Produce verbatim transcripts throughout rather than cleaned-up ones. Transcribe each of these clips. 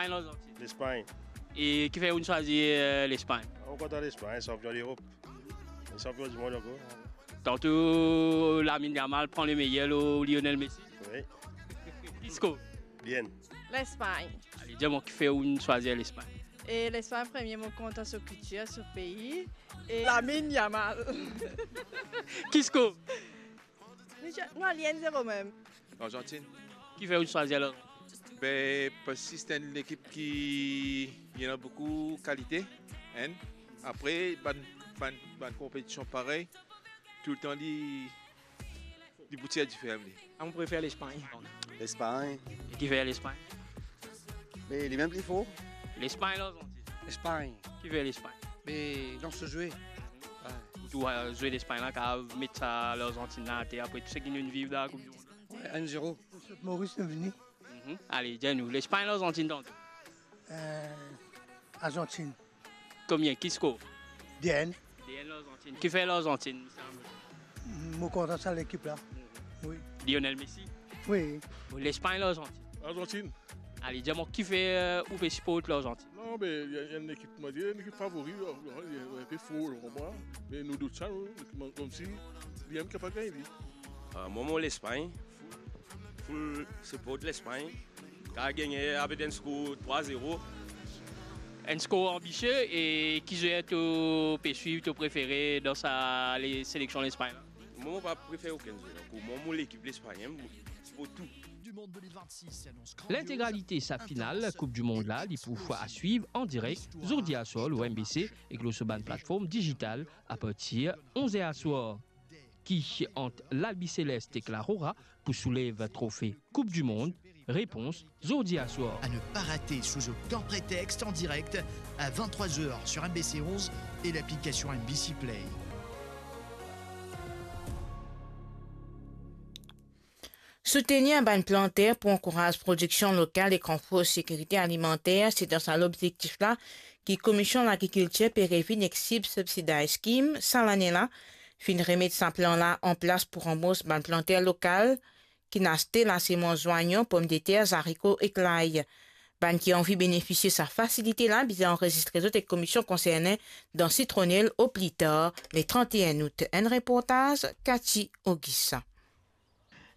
Lespagn, Larzantin. Lespagn. E kifer ou'nn swazir, eh, Lespagn? Mo kontan Lespagn, sanpion Lerop. Sanpion dimond ankor. Tanto Lamine Yamal pran le meyer lor Lionel Messi. Wi. Ki skor? Bien. Lespagn. Ale, dir mwa kifer ou'nn swazir Lespagn? E Lespagn, premie, mo kontan so kiltir, so pei. E Lamine Yamal. Ki skor? Nou, nou al enn zero mem. Larzantin. Kifer ou'nn swazir Larzantin? Be, parski se enn lekip ki, li ena boukou kalite, enn. Apre, bann, bann, bann konpetision parey, toultan li, li pou tir difer li. Ah, mo prefer Lespagn. Lespagn. E kifer Lespagn? Me li mem pli for. Lespagn, Larzantin. Lespagn. Kifer Lespagn? Me dan so zwe. Wi. Ou trouv, eh, zwe Lespagn la kapav met sa Larzantin la ater apre tou seki nou'nn viv dan Koup di Mond la? Wi, enn zero. Moris nou vini. Mhm. Ale, dir nou, Lespagn, Larzantin tanto? Eh, Larzantin. Konbien? Ki skor? Deux un. Deux un Larzantin. Kifer Larzantin, misie Amour? Mo kontan sa lekip la. Mhm. Wi. Lionel Messi? Wi. Lespagn, Larzantin? Larzantin. Ale, dir mwa kifer, eh, ou pe siport Larzantin? Non, be, li, li enn lekip, mo dir, enn lekip favori, li, li enn pe for, ou konpran? Me nou dout sa, nou, kouma, koumsi li mem kapav gagn li. Ah, mwa, mo Lespagn. Full, full siport Lespagn. Kapav gagne avek enn skor trwa zero. Enn skor anbisie, e ki zwer to pe swiv, to prefere dan sa le, seleksion Lespagn la? Mwa, mo pa prefer okenn zwer. Pou mwa, mo lekip Lespagn, mo siport tou. Lintegralite sa final Koup di Mond la, li pou a swiv an direk zordi aswar lor M B C ek lor so bann platform dizital apartir onz er aswar. Ki ant L'Albiceleste ek La Roja pou soulev trofe Koup di Mond? Repons zordi aswar. À ne pas rater sous aucun prétexte, en direct à vingt-trois heures sur M B C onze et l'application M B C Play. Soutenir bann planter pou ankouraz prodiksion lokal ek ranforse sekirite alimanter, se dan sa lobzektif la ki Komision Lagrikiltir pe revinn ek SIB Subsidized Scheme sa lane la, finn remet sa plan la an plas pou ranbours bann planter lokal ki'nn aste lasemans zwanyon, pomdeter, zariko ek lay. Bann ki anvi benefisie sa fasilite la bizin anrezistre zot ek komision konserne dan Citronelle o pli tar le trant-e-enn out. Enn reportaz Cathy Augusta.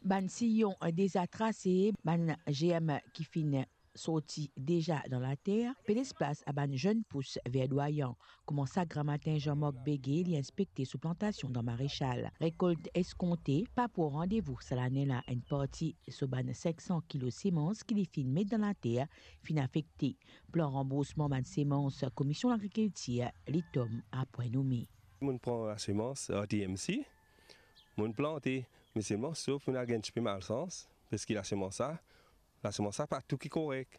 Bann siyon deza trase, bann germ ki finn sorti deza dan later, pe les plas a bann zenn pous verdwayan. Kouma sak gramatin, Jean-Marc Begue li inspekte so plantasion dan Marechal. Rekolt eskonte, pa pou randevou sa lane la. Enn parti so bann sink san kilo semans ki li finn met dan later finn afekte. Plan ranboursman bann semans Komision Lagrikiltir, li tom a pwin nome. Mo'nn pran lasemans R T M C, mo'nn plante, me selman sof mo'nn al gagn tipe malsans, parski lasemans sa, lasemans sa pa tou ki korek.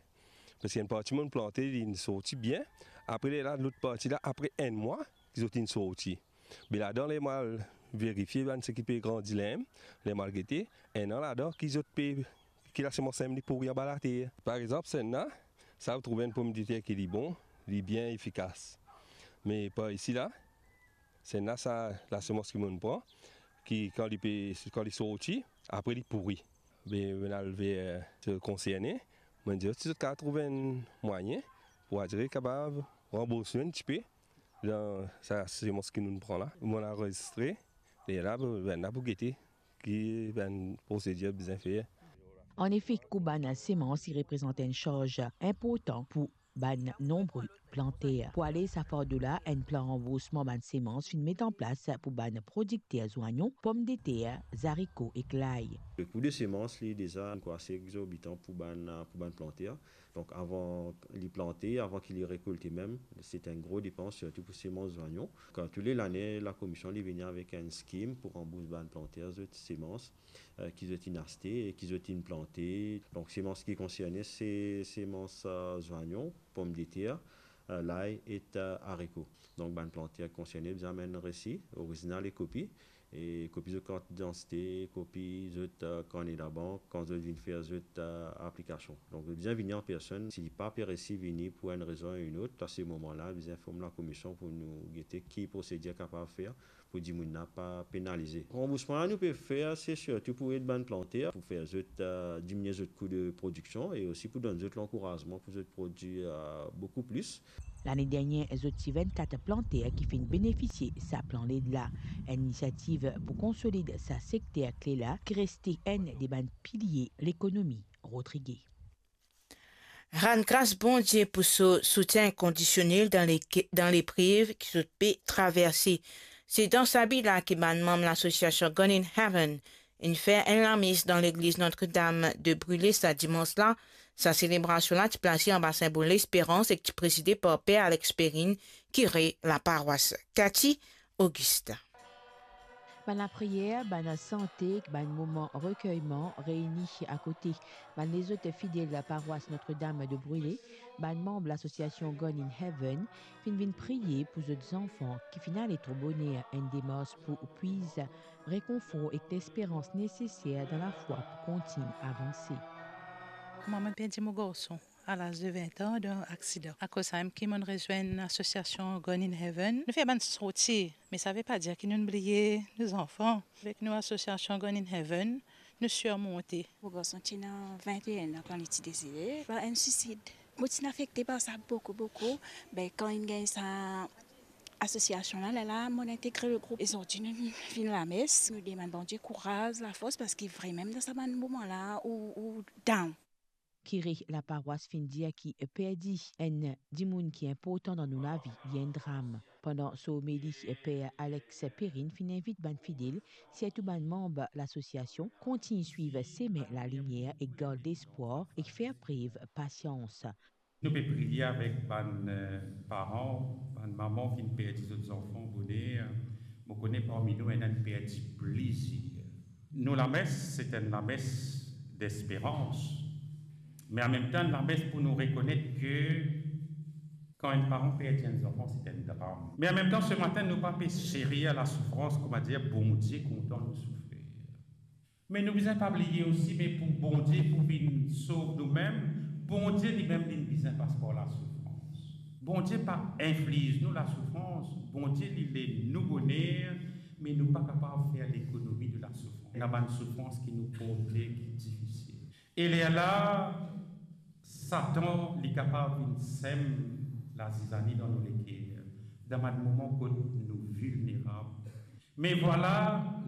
Parski enn parti mo'nn plante, li'nn sorti bien, apre lerla lot parti la, apre enn mwa ki zot inn sorti. Be ladan, ler mo al verifie bann seki pe grandi lerm, ler mo al gete, ena ladan ki zot pe, ki lasemans lerm li pouri anba later. Par exanp, sa enn la, sa ou trouv enn pomdeter ki li bon, li bien efikas. Me par isi la, sa enn la, sa lasemans ki mo'nn pran, ki kan li pe, kan li sorti, apre li pouri. Be mo'nn al ver, eh, konserne, mo'nn dir zot si zot kapav trouv enn mwayin pou adire kapav ranbours nou enn tipe dan sa semans ki nounn pran la. Mo'nn anrezistre, lerla, be, bann la pou gete ki bann prosedir bizin fer. Anefe, kou bann semans, li reprezant enn sarz inportan pou bann nonbri planter. Pou ale sa fardo la, enn plan ranboursman bann semans finn met an plas pou bann prodikter zwanyon, pomdeter, zariko ek lay. Le kou de semans, li deza enn kou ase egzorbitan pou bann, pou bann planter. Donk, avan li plante, avan ki li rekolte mem, se enn gro depans, sirtou pou semans zwanyon. Kan tou le lane, lakomision, li vini avek enn skim pou ranbours bann planter zot semans, eh, ki zot inn aste e ki zot inn plante. Donk, semans ki konserne, se semans, eh, zwanyon, pomdeter, eh, lay ek, eh, zariko. Donk, bann planter konserne bizin amenn resi orizinal e kopi. e kopi zot kart idantite, kopi zot, eh, karne labank, kan zot vinn fer zot, eh, aplikasion. Donk, zot bizin vini an personn. Si li pa pe resi vini pou enn rezon ou enn ot, a se moman la, bizin form lakomision pou nou gete ki prosedir kapav fer pou dimoun la pa penalize. Ranboursman la nou pe fer, se sirtou pou ed bann planter, pou fer zot, eh, diminie zot kou de prodiksion e osi pou donn zot lankourazman pou zot prodwir, eh, boukou plis. Lane dernie, zot ti vennkat planter ki finn benefisie sa plan led la. Enn inisiativ pou konsolid sa sekter kle la ki reste enn de bann pilie lekonomi. Rodrigue. Rann gras Bondie pou so soutien inkondisionel dan le, dan leprev ki zot pe traverse. Se dan sa bi la ki bann manm lasosiasion Gone in Heaven inn fer enn lames dan legliz Notre-Dame de Brûlé sa dimans la. Sa selebrasion la ti plase anba sinbol lesperans ek ti prezide par Per Alex Perrine, kire laparwas. Cathy Augustin. Bann lapriyer, bann sante, bann moman rekeyman, reyni akote bann lezot fidel parwas Notre-Dame de Brûlé, bann manm lasosiasion Gone in Heaven finn vinn priye pou zot zanfan ki finn ale tro boner, enn demars pou pwiz rekonfor ek lesperans neseser dan lafwa pou kontign avanse. Mwa, mo'nn perdi mo garson a laz de vin an dan aksidan. Akoz samem ki mo'nn rezwenn lasosiasion Gone in Heaven. Nou fer bann sorti, me sa ve pa dir ki nou'nn bliye nou zanfan. Avek nou lasosiasion Gone in Heaven, nou sirmonte. Mo garson ti ena vin-e-enn an kan li ti desede par enn swisid. Mo ti afekte par sa boukou, boukou. Be, kan inn gagn sa asosiasion la, lerla mo'nn integre legroup. E zordi nou vinn lames, nou demann Bondie kouraz, lafors, parski vremem dan sa bann moman la ou, ou down. Kire laparwas finn dir ki perdi enn dimoun ki inportan dan nou lavi, li enn dram. Pandan so omeli, Per Alex Perrine finn invit bann fidel, sirtou bann manm lasosiasion, kontign swiv semin lalimier ek gard lespwar ek fer prev pasians. Nou pe priye avek bann, eh, paran, bann mama ki finn perdi zot zanfan boner. Mo kone parmi nou ena inn perdi plizier. Nou lames, se enn lames desperans. Me anmemtan, enn lames pou nou rekonet ke kan enn paran perdi enn zanfan, se enn dram. Me anmemtan, se matin, nou pa pe serie lasoufrans, koumadir Bondie kontan nou soufer. Me nou bizin pa bliye osi, me pou Bondie pou vinn sov noumem, Bondie limem li bizin pas par lasoufrans. Bondie pa infliz nou lasoufrans, Bondie li le nou boner, me nou pa kapav fer lekonomi de lasoufrans. Ena bann soufrans ki nou porte ki difisil. E lerla, Satan, li kapav vinn sem lazizani dan nou leker, dan bann moman kot nou vilnerab. Me vwala,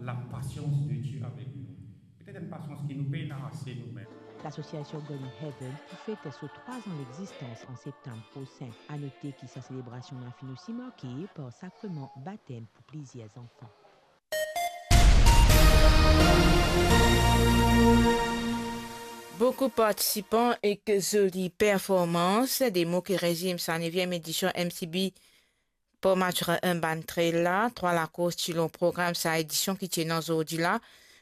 lapasians de Die avek nou. Petet enn pasians ki nou pena ase noumem. Lasosiasion Gone in Heaven pou fet so trwa-z-an lexistans an septam prosin. Anote ki sa selebrasion la finn osi marke par sakreman batem pou plizier zanfan. Boukou partisipan ek zoli performans, de mo ki rezim sa neviem edision M C B Port Mathurin enn bann trail la. Trwa lakours ti lor program sa edision ki ti ena zordi la,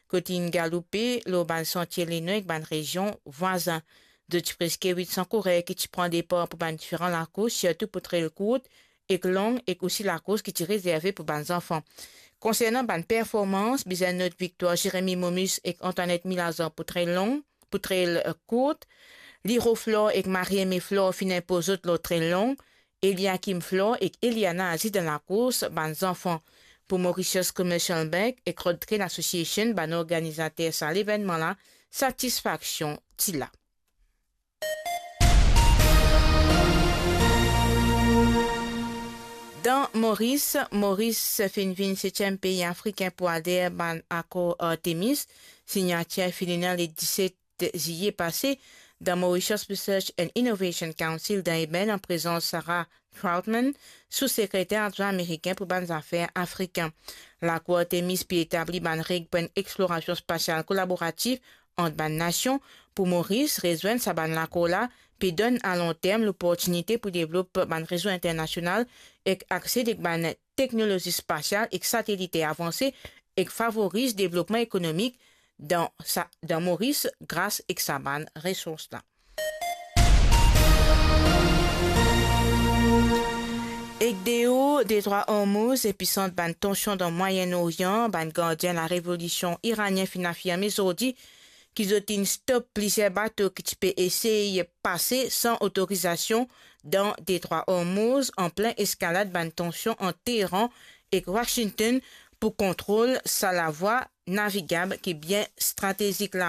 kot inn galoupe lor bann santie Lenoy ek bann rezion vwazin. Zot ti preske wit san kourer ki ti pran depar pou bann diferan lakours, sirtou pou trail kourt ek long, ek osi lakours ki ti rezerve pou bann zanfan. Konsernan bann performans, bizin not viktwar Jérémy Momus ek Antoinette Milazan pou trail long, pou trail, eh, kourt. Liro Flore ek Marie-Aimée Flore finn inpoz zot lor trail long. Eliakim Flore ek Eliana Aziz dan lakours bann zanfan. Pou Mauritius Commercial Bank ek Road Trail Association, bann organizater sa levennman la, satisfaksion ti la. Dan Moris, Moris finn vinn setiem pei afrikin pou ader bann akor Artemis. Signatir finn ena le diset ziye pase dan Mauritius Research and Innovation Council dan Eben, an prezans Sarah Troutman, sou-sekreter adwin amerikin pou bann zafer afrikin. Lakor Artemis pe etabli bann reg pou enn explorasion spasial kolaboratif ant bann nasion. Pou Moris, rezwenn sa bann lakor la pe donn a long term loportinite pou devlop bann rezo internasional ek akse ek bann teknolozi spasial ek sateliter avanse, ek favoriz devlopman ekonomik dan sa, dan Moris gras ek sa bann resours la. Ek deor Detrwa Ormouz, episant bann tansion dan Mwayen Orian, bann gardien larevolisiyon iranien finn afirme zordi ki zot inn stop plizier bato ki ti pe esey pase san otorizasion dan Detrwa Ormouz, anplin eskalad bann tansion ant Teheran ek Washington pou kontrol sa lavwa navigab ki bien stratezik la.